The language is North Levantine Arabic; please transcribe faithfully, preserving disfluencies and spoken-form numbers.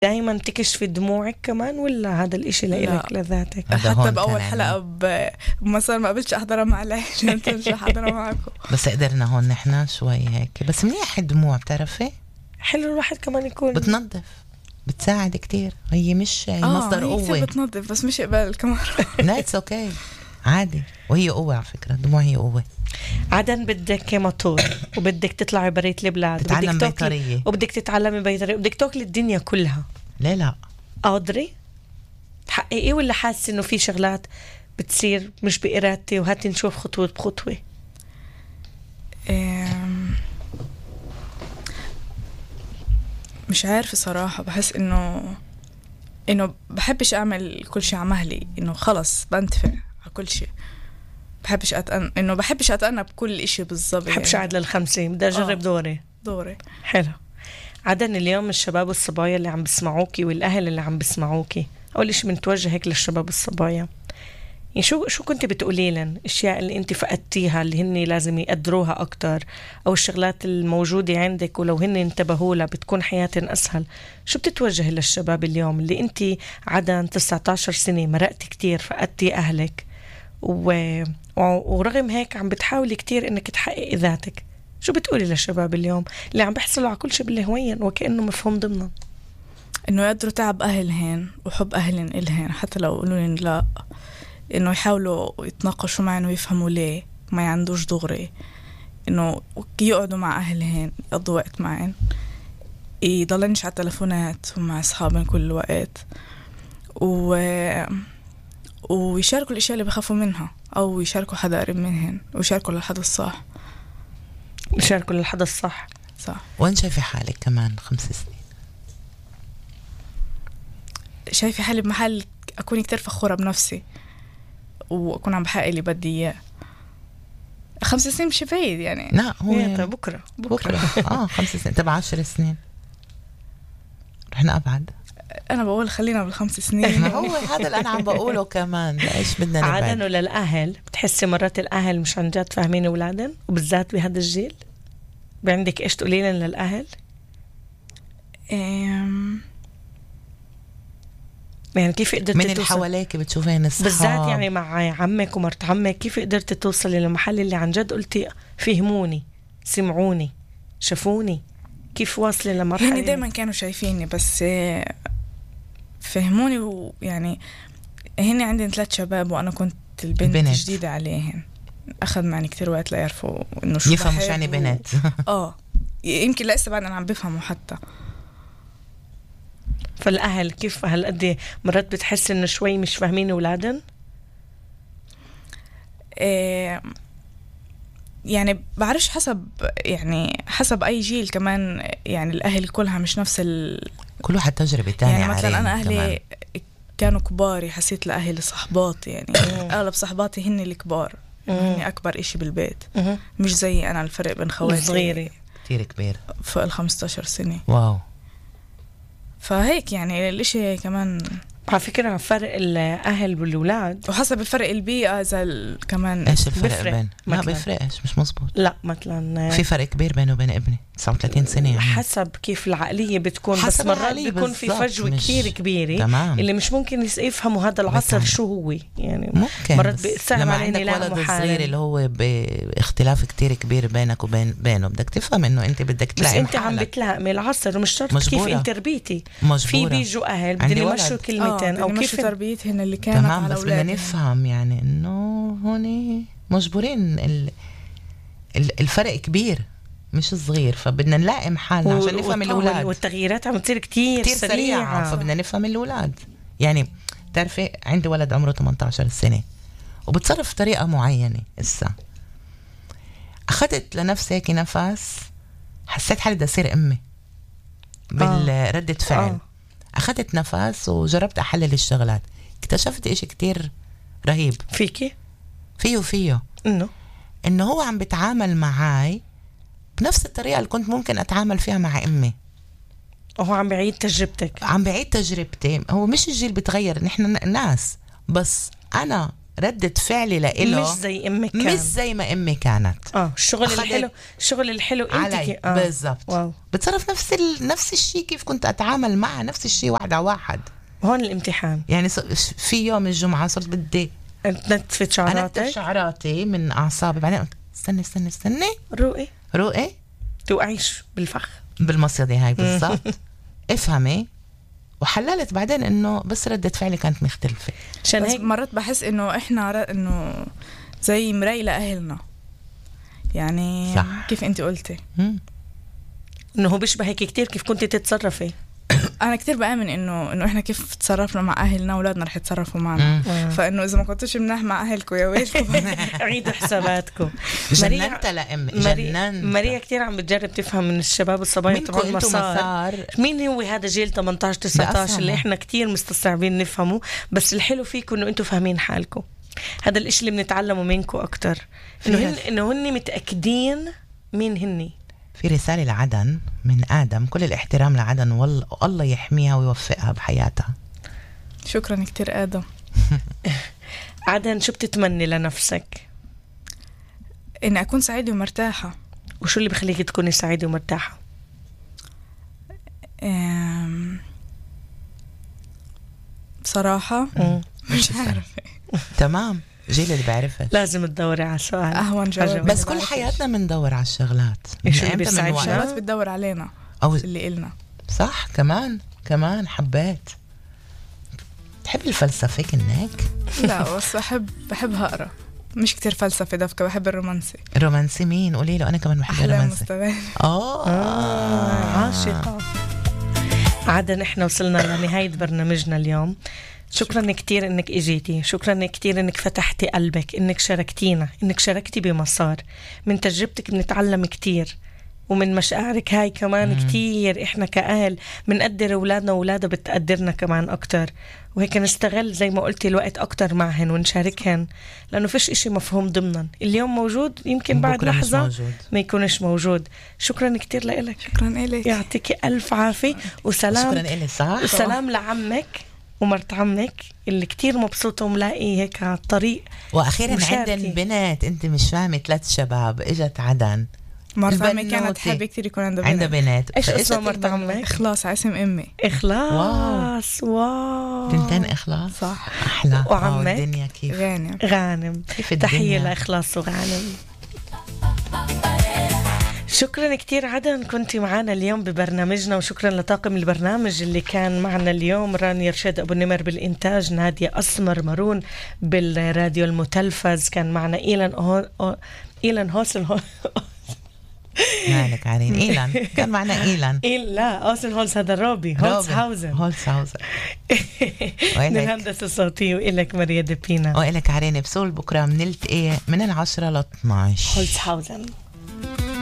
دايما تكشفي دموعك كمان ولا هذا الاشي لإلك لذاتك؟ حتى بأول حلقة بمسار ما قبلتش أحضرها مع العيش مش أحضرها معكم بس قدرنا هون نحنا شوي هيك بس منيح الدموع بتعرفي حلو الواحد كمان يكون بتنظف بتساعد كتير هي مش هي آه مصدر قوة هي بتنظف بس مش قبل كمان نايتس اوكي عادي وهي قوة على فكرة الدموع هي قوة عادة بدك موتور وبدك تطلعي بريت البلاد تتعلم بيطرية وبدك تتعلمي بيطرية وبدك تاكلي الدنيا كلها ليه لا قادرة تحققي ولا حاسة انه في شغلات بتصير مش بإرادتي وهاتي نشوف خطوة بخطوة؟ مش عارفة صراحة بحس انه انه بحبش اعمل كل شيء عمهلي انه خلص بنتفع على كل شيء بحبش أتأن... انه بحبش اتأنى بكل اشي بالضبط بحبش يعني. قاعد للخمسة بدي اجرب آه. دوري دوري حلو. عادة اليوم الشباب والصبايا اللي عم بسمعوكي والأهل اللي عم بسمعوكي أول إشي بنتوجه هيك للشباب والصبايا يعني شو شو كنت بتقولي لن الأشياء اللي أنت فقدتيها اللي هن لازم يقدروها أكتر أو الشغلات الموجودة عندك ولو هن انتبهوا لها بتكون حياتهم أسهل شو بتتوجه للشباب اليوم اللي أنت عادة تسعة عشر سنة مرقتي كتير فقدتي أهلك و... ورغم هيك عم بتحاولي كتير إنك تحققي ذاتك شو بتقولي للشباب اليوم اللي عم بيحصلوا على كل شيء بالهوين وكأنه مفهوم ضمنا إنه يقدروا تعب أهلهن وحب أهلهن إلهن حتى لو قولوا لا إنه يحاولوا يتناقشوا معي إنه يفهموا ليه ما يعندوش دغري إنه يقعدوا مع أهلهن يقضوا وقت معهن يضلنش على التلفونات ومع أصحابهم كل وقت و... ويشاركوا الأشياء اللي بخافوا منها أو يشاركوا حدا قريب منهن ويشاركوا للحدا الصح يشاركوا للحدا الصح صح. وين شايفة حالك كمان خمس سنين؟ شايفة حالي بمحل أكون كتير فخورة بنفسي وأكون عم بحقق اللي بدي إياه. خمس سنين مش بعيد يعني لا هو بكرة بكرة, بكرة. آه خمس سنين تبع عشر سنين رحنا أبعد. أنا بقول خلينا بالخمس سنين. ما هو هذا اللي أنا عم بقوله كمان ليش بدنا نبعد. عادة للأهل بتحسي مرات الأهل مش عن جد فاهمين أولادن وبالذات بهذا الجيل بعندك إيش تقولين للأهل؟ أم... يعني كيف قدرت من اللي حواليك بتشوفين الصحاب بالذات يعني مع عمك ومرت عمك كيف قدرت توصلي للمحل اللي عن جد قلتي فهموني سمعوني شافوني كيف واصلة لمرحلة هني دايما كانوا شايفيني بس فهموني ويعني هني عندي ثلاث شباب وأنا كنت البنت البنت. جديدة عليهم أخذ معي كتير وقت ليعرفوا إنه شو يفهموا شو يعني بنات و... آه يمكن لسه بعد أنا عم بفهموا حتى. فالأهل كيف هالقد مرات بتحس إنه شوي مش فاهمين أولادن؟ إيه يعني بعرفش حسب يعني حسب أي جيل كمان يعني الأهل كلها مش نفس ال كل واحد تجربة تانية يعني مثلا أنا أهلي كمان. كانوا كبار حسيت لأهلي صحباتي يعني أغلب صحباتي هن الكبار هن أكبر إشي بالبيت مش زي أنا الفرق بين خواتي صغيرة كتير كبير فوق الخمستاشر سنة. واو. فهيك يعني الاشي كمان على فكرة فرق الأهل والأولاد وحسب الفرق البيئة إذا كمان إيش الفرق بفرق. بين ما بيفرقش مش مزبوط لا مثلا في فرق كبير بينه وبين ابني تسعة وثلاثين سنة يعني. حسب كيف العقلية بتكون بس مرات بيكون في فجوة كتير كبيرة تمام. اللي مش ممكن يفهموا هذا العصر بتعمل. شو هو يعني ممكن مرات بيصعب علينا لما عندك ولد صغير اللي هو باختلاف كتير كبير بينك وبين بينه بدك تفهم انه انت بدك تلاقي بس انت عم بتلاقي العصر ومش شرط كيف انت تربيتي في بيجوا اهل بدهم يمشوا كلمتين آه. او كيف تربيتهن اللي كانت تمام على بس بدنا نفهم يعني انه هون مجبورين ال... الفرق كبير مش صغير فبدنا نلاقي محلنا عشان نفهم الأولاد والتغييرات عم تصير كتير, كتير سريعة, سريعة فبدنا نفهم الأولاد يعني تعرفي عندي ولد عمره ثمانية عشر سنة وبتصرف بطريقة معينة إسا أخذت لنفسي هيك نفس حسيت حالي بدي أصير أمي بالردة فعل آه. أخذت نفس وجربت أحلل الشغلات اكتشفت إشي كتير رهيب فيكي فيه فيه إنه إنه هو عم بتعامل معاي بنفس الطريقة اللي كنت ممكن أتعامل فيها مع أمي وهو عم بعيد تجربتك عم بعيد تجربتي هو مش الجيل بتغير نحن ناس بس أنا ردة فعلي لإله مش زي امك كان. مش زي ما امي كانت. اه الشغل أخدت الحلو الشغل الحلو انت علي كي... آه. بالضبط. واو. بتصرف نفس ال... نفس الشيء كيف كنت اتعامل معها، نفس الشيء واحد على واحد. هون الامتحان. يعني ص... في يوم الجمعة صرت بدي تنتفت شعراتك، انتف شعراتي من اعصابي، بعدين قلت استني استني استني روقي روقي توقعيش بالفخ بالمصيدة هاي بالضبط. افهمي. وحللت بعدين انه بس ردة فعلي كانت مختلفة. عشان بس هيك مرات بحس انه احنا ر- انه زي مراية لأهلنا، يعني صح. كيف انت قلتي. مم. انه هو بيشبه هيك كتير كيف كنت تتصرفي. انا كتير بآمن انه انه احنا كيف تصرفنا مع اهلنا اولادنا رح يتصرفوا معنا. مم. فانه اذا ما كنتوش مناح مع اهلكم يا ويل عيدوا حساباتكم. جننت لأمي ماريا جننت. ماريا كتير عم بتجرب تفهم من الشباب الصبايا منكم تبع انتو المسار مسار. مين هو هذا جيل ثمانية عشر تسعة عشر بأفهمه. اللي احنا كتير مستصعبين نفهمه. بس الحلو فيكم انه انتم فاهمين حالكم. هذا الاشي اللي بنتعلمه منكم اكتر، انه هن انه هن متاكدين مين هني. في رسالة لعدن من آدم، كل الاحترام لعدن والله الله يحميها ويوفقها بحياتها. شكرا كتير آدم. عدن شو بتتمني لنفسك؟ اني اكون سعيدة ومرتاحة. وشو اللي بخليك تكوني سعيدة ومرتاحة؟ أم... بصراحة مم. مش عارفة. تمام، جيل اللي بعرفها. لازم تدوري على سؤال أهون جواب. عجبني. بس كل حياتنا بندور على الشغلات. إيش اللي إمتى بيسعدنا؟ من شغلات وقت؟ بتدور علينا أو اللي إلنا. صح. كمان كمان حبيت تحب الفلسفة كنك؟ لا بس بحب بحبها أقرأ، مش كتير فلسفة دفكة، بحب الرومانسي. الرومانسي مين؟ قولي له. أنا كمان بحب أحلام الرومانسي. مستبان. آه آه عاشقة. عدن احنا وصلنا لنهاية برنامجنا اليوم. شكرا كتير انك اجيتي، شكرا كتير انك فتحتي قلبك، انك شاركتينا، انك شاركتي بمسار. من تجربتك بنتعلم كتير، ومن مشاعرك هاي كمان مم. كتير احنا كأهل بنقدر اولادنا واولادها بتقدرنا كمان اكتر. وهيك نستغل زي ما قلتي الوقت اكتر معهن ونشاركهن، لانه فيش اشي مفهوم ضمنا. اليوم موجود يمكن بعد بكرة مش لحظة موجود. ما يكونش موجود. شكرا كتير لإلك. شكرا إلك. يعطيكي ألف عافية وسلام. شكرا إلي. صح. وسلام لعمك ومرت عمك اللي كتير مبسوطة وملاقي هيك على الطريق. وأخيرا مشاركة. عندن بنات. أنت مش فاهمة، ثلاث شباب إجت عدن. مرت عمي البنوتة. كانت حابة كتير يكون عندها بنت. عندها بنات. إيش فإجت اسمها مرت البنوتة. عمك؟ إخلاص اسم أمي. إخلاص. واو, واو. تنتين إخلاص. صح. أحلى. وعمك؟ آه، الدنيا كيف غانم. غانم. كيف الدنيا. تحية لإخلاص وغانم. شكرا كتير عدن كنتي معنا اليوم ببرنامجنا، وشكرا لطاقم البرنامج اللي كان معنا اليوم. رانيا رشاد أبو النمر بالإنتاج، نادية أسمر مارون بالراديو المتلفز، كان معنا إيلان أو... أو... إيلان هوسل هو... مالك عارين. إيلان كان معنا. إيلان إيه لا أوسن هولز هذا روبي هولزهاوزن. هولزهاوزن. من الهندسة الصوتية. وإلك ماريا دبينا. وإلك عارين بسول. بكرة منلتقي من العشرة ل اثناشر. هولزهاوزن.